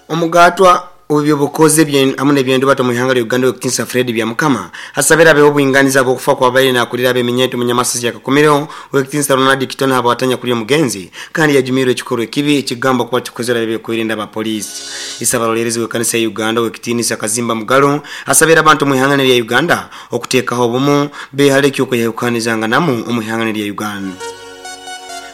Omugatwa ow'ebyobukozi hamu n'ebyendubato omu ihanga lya Uganda Owekitinisa Fred Byamukama asabire abeho obwinganiza habw'okufa kwabaire nakulira ab'eminyeto omunyamasasi ya Kakumiro Owekitinisa Ronald Kitone habwatanya kuli omugenzi kandi yajumirwe ekikorwa ekibi ekigambwa kuba kikozerwe ab'ebyokwerinda aba poliisi. Isabarolerezi w'ekanisa ya Uganda Owekitinisa Kazimba Mugalu asabire abantu omu ihanga lya Uganda okutekaho obumu behale eky'okweyahukanizanganamu omu ihanga lya Uganda.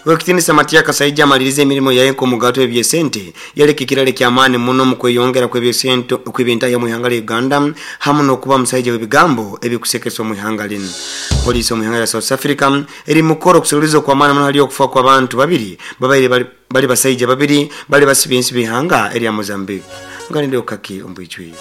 Owekitinisa Matia Kasaija amalirize emirimo yaye nk'omugato w'ebyesente yaleka ekirala eky'amaani muno omu kweyongera kw'ebyesente okw'ebintahya omu ihanga lya Uganda hamu n'okuba musaija w'ebigambo ebikusekesa omu ihanga linu. Poliisi omu ihanga lya South Africa eri mukukora okuseruliza okw'amaani muno hali okufa kw'abantu babiri babaire bali basaija babiri bali basiba ensi b'ihanga erya Mozambique. Nganire okukaki omu bwijwire.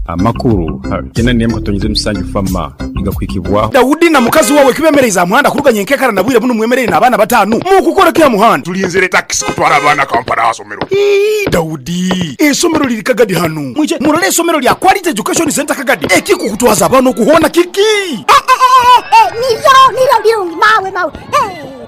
Amakuru kyenda n'emwe katonyeze musanju fama nigakuhikibwaho. Daudi na mukazi wawe kibemereize aha muhanda kuruga nyenkekara na bwire bunu mwemereire n'abaana bataanu. Mukukora ki aha muhanda? Tulinzire takisi kutwara abaana Kampala aha somero. Ii, Daudi, eisomero liri Kagadi hanu. Mwije murole eisomero lya Quality Education Centre Kagadi. Ekikukutwaza abaana okuhoona kiki? Niryo, niryo birungi mawe, mawe.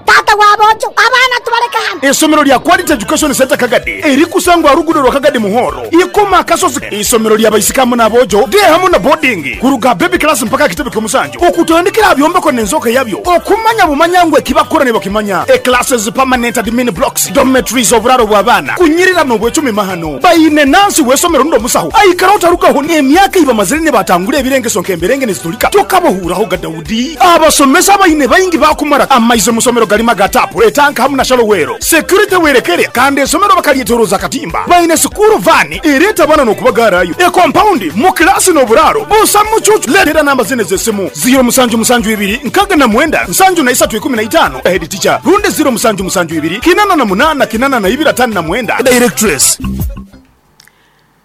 Taata wa boojo, abaana tubaleke hanu. Eisomero lya Quality Education Centre Kagadi erikusangwa aha luguudo rwa Kagadi Muhoro, Ikoma Akasozi. Eisomero lya baisiki hamu n'aboojo, day hamu na boarding, kuruga aha baby class mpaka aha kitebe ky'omusanju, okutandikira aha byombeko n'enzooka yabyo, okumanya bumanya ngu ekibakukora nibakimanya. E Classes, permanent admin blocks, dormitories, oburaaro bw'abaana, kunyirira n'obwecumi mahano. Baine nansi w'eisomero rundi omusaho aikara otarugaho n'emyaka ei bamazire nibatangura ebirengeso nk'emberenge nizitulika tokabahuuraho ga Daudi. Abasomesa abaine baingi baakumara amaizi omu somero garimu aga taapu, etanka hamu na shallow well. Security werekere kandi esomero bakaryetoroza akatimba. Baine sikuuru vaani ereeta abaana n'okubagaarayo. Ekompaundi mu kilaasi n'oburaaro busa mucuucu. Leetera namba zinu ez'esimu, ziiro musanju musanju ibiri nkaaga na mwenda nsanju na isatu ikumi na itaano, Head teacher, rundi ziiro musanju musanju ibiri kinana na munaana kinana na ibiri ataano na mwenda, Directress.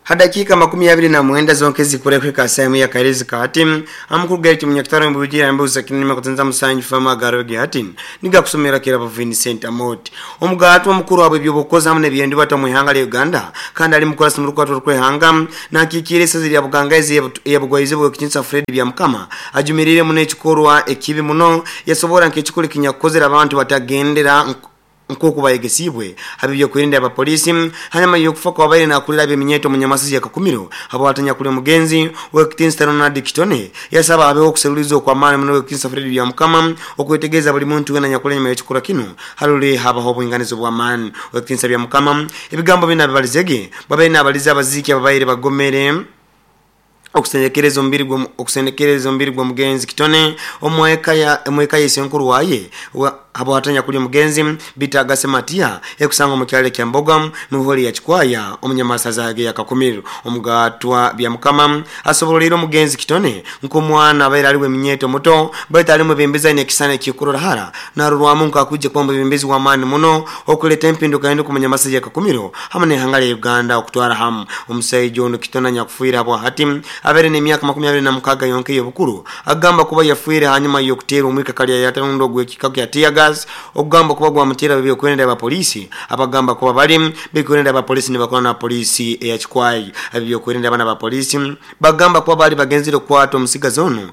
Ha dakiika 29 zonka ezikura kuhika aha saaha emwe y'akaheerezi ka hati, amakuru gaitu Munyakitara Omubugi yambuuza Kinanima Kutenza Musanju Famu agaarwe ge hati nigakusomera Kirabo Vincent Amooti. Omugaatwa omukuru ahabw'eby'obukozi hamu n'eby'endubata omu ihanga lya Uganda kandi ali mukurasi mu rukwatwa rw'eihanga nakiikiira eisaza erya Bugangaizi eya Bugwaizooba Owekitinisa Fred Byamukama ajumiriire muno ekikorwa ekibi muno yasoboora nk'ekikorwa ekinyakukozire abantu batagendera Nk'oku bayegesiibwe ab'ebyokwerinda abapoliisi, hanyuma y'okufa kw'abaire nakurira ab'eminyeeto omunyamasizi ya Kakumiro habwatanya kuli omugenzi Owekitinisa Ronald Kitone, yasaba habeho okuseruliza okw'amaani muno Owekitinisa Fred Byamukama okwetegereza buli muntu wena anyakuli enyuma y'ekikorwa kinu harole habaho obwinganiza obw'amaani. Owekitinisa Byamukama ebigambo binu abibalizege bwabaire nabaliza abaziiki ababaire bagomere okusendekereza omubiri gwo okusendekereza omubiri gw'omugenzi Kitone omu eka ya omu eka ya isenkuru waye wa habwatanya kuli omugenzi Bitaga Sematia ekusangwa omu kyalo ekya Mboga mu holi ya Kikwaya omunyamasaza age ya Kakumiro. Omugatwa Byamukama asoboroleire omugenzi Kitone nk'omwana abaire ali w'eminyeeto muto baitu ali mwebembezi aine ekisani ekikurora hara narorwamu nk'akwija kuba omwebembezi w'amaani muno okuleta empindukahinduka omu nyamasaza ya Kakumiro hamu n'ihanga lya Uganda okutwara hamu. Omusaija onu Kitone anyakufiire habwahati abaire n'emyaka 26 yonka ey'obukuru agamba kuba yafiire hanyuma y'okuteerwa omwika kalyayata rundi ogw'ekika kya tear gas ogugamba kuba gwamuteera ab'ebyokwerinda aba poliisi abagamba kuba bali b'ebyokwerinda aba poliisi nibakora na poliisi eya Kikwai. Ab'ebyokwerinda banu aba poliisi bagamba kuba baali bagenzire kukwata omusigazi onu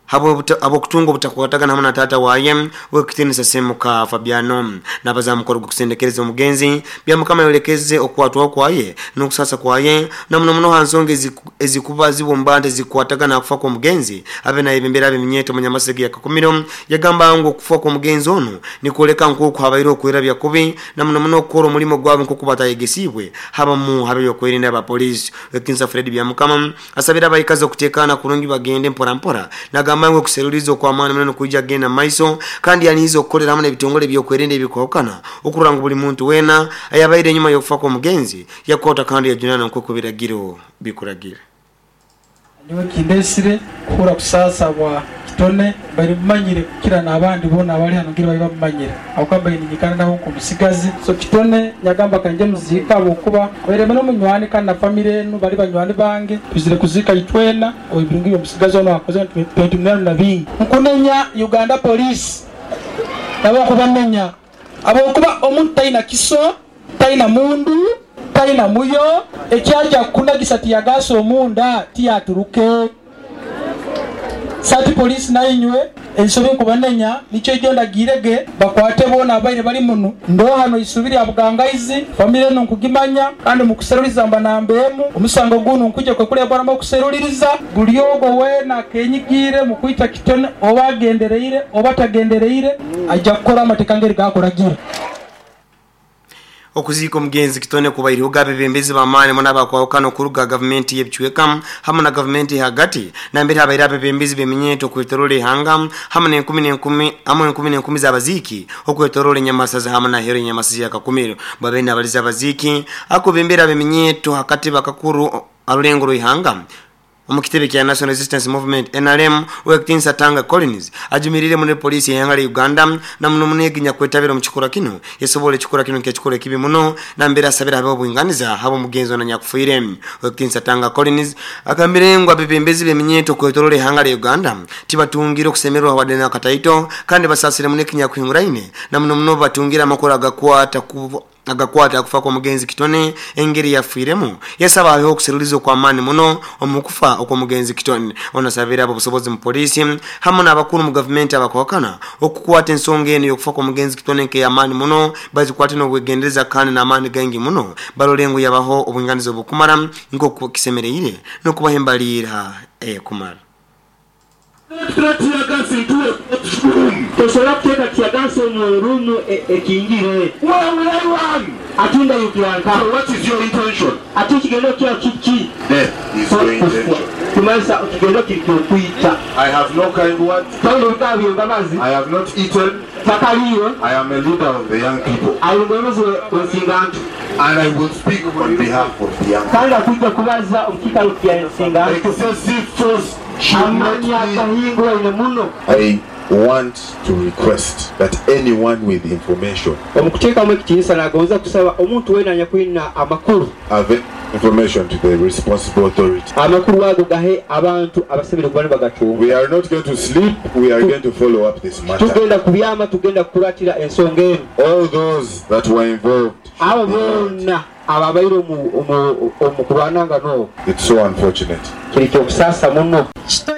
Habw'okutunga obutakwatagana hamu na taata waye ow'ekitiinisa Ssemuka Fabiano n'abaza ha mukoro gw'okusendekereza omugenzi, Byamukama ayolekeze okukwatwaho kwaye n'okusaasa kwaye na muno muno ha nsonga ezikuba zibumba nti ezikukwatagana ha kufa kw'omugenzi abe nayebembera ab'eminyeeto omu Nyamasege ya Kakumiro. Yagamba ngu okufa kw'omugenzi onu nikwoleka nk'oku habaireho okwerabya kubi na muno muno okukora omulimo gwabo nk'oku batayegesiibwe habamu hab'ebyokwerinda aba poliisi. Ow'ekitiinisa Fred Byamukama Asabire abaikazi okutekaana kurungi bagende mpora mpora. Nagamba ngu okuseruliiriza okw'amaani muno nikwija kugenda mu maiso kandi anihize okukolera hamu n'ebitongole eby'okwerinda ebirukwahukana okurora ngu buli muntu weena ayabaire enyuma y'okufa kw'omugenzi yakwatwa kandi yajunaanwa nk'oku ebiragiro bikuragira. Nyowe kindesire kuhurra kusaasa bwa kitone, mbaire mumanyire kukira n'abandi boona abali hanu ngira babaire bamumanyire ahabw'okuba mbaire ninyikara nawe nk'omusigazi. So kitone nyagamba ka ngye muziike ahabw'okuba abaire mbe n'omunywani kandi na famire enu bali banywani bange, twizire kuziika itwena ebirungi by'omusigazi onu akozire nitubituniramu na bingi. Nkunenya Uganda Police nabo nkubanenya ahabw'okuba omuntu taina kiso, taina mundu, taina muyo, ekyaja kukunagisa tiyagaasi omunda tiyaturuke. Sati Police nainywe Ensobi nkubanenya nikyo ijo ndagirege bakwate bona abaire bali muno ndohano isubiri ya bugangaizi famire eno nkugimanya kandi mukuseruliriza mba nambemu omusango guno nkuje kwekulebwanamu okuseruliriza buli ogwo weena akenyigire mu kwita Kitone oba agendereire oba tagendereire ajja kukora amateeka ngeri gakoragira. Okuziika omugenzi Kitone kubairiho gabebembezi b'amaani muno abakwahukana okuruga gavumenti y'ebicweka hamu na gavumenti hagati nambere habaire abebembezi b'eminyeeto okwetorola ihanga hamu n'enkumi n'enkumi hamu enkumi n'enkumi z'abaziiki okwetorola enyamasaza hamu na hero enyamasaza ya Kakumiro. Babaire nabaliza abaziiki akubembera ab'eminyeeto hakati bakakuru arulengo rw'ihanga omu kitebe kya National Resistance Movement NRM Owekitinsa Tanga Collins ajumirire muno poliisi y'ihanga lya Uganda na muno muno eginya kwetabira omu kikura kino esobola ekikura kino nk'ekikura ekibi muno nambere asabira habeho obwinganiza haba omugenzi ono nyakufiire. Owekitinsa Tanga Collins agambire ngu abebembezi b'eminyeeto okwetorola ihanga lya Uganda tibatungire okusemererwa wadde nakataito kandi basasire muno ekinyakuhinguraine na muno muno batungire amakuru agakwata ku agakwata akufa kw'omugenzi Kitone engeri yafiiremu. Yasaba habeho okuseruliza okw'amaani muno omu kufa okw'omugenzi Kitone. Ono asabire abo obusobozi mu poliisi hamu n'abakuru mu gavumenti abakwakana okukwata ensonga eno y'okufa kw'omugenzi Kitone nk'ey'amaani muno bazikwate n'obwegendereza kandi n'amaani gaingi muno barole ngu yabaho obwinganiza obukumara nk'oku kisemereire n'okubaha embaliira ekumara. Tosobola kuteeka teargas omu ruumu ekingire. Where will I run? Ati ndayukira nka. So what is your intention? Ati ekigendo kyawe kiki? Death is your intention. Kumanyisa ekigendo kiri kyokwita. I have no kind words. Tolina ebigambo by'embabazi. I have not eaten. Takaliire. I am a leader of the young people. Ali mwebembezi w'ensingantu. And I will speak on behalf of the young people. Kandi akwijja kubaza omu kiikaro kya nsingantu. Excessive force should not Amaanyi be. agahinguraine muno. I want to request that anyone with information Omu kuteekamu ekitiinisa nagonza kusaba omuntu weena anyakwina amakuru. Have information to the responsible authority. Amakuru ago gahe abantu abasemere kuba nibagacunga. We are not going to sleep, we are going to follow up this matter. Tugenda kubyama, tugenda kukuratira ensonga eno. All those that were involved. Abo boona ababaire omu kurwananga n'obu. It's so unfortunate. Kiri kyokusaasa muno. Kitone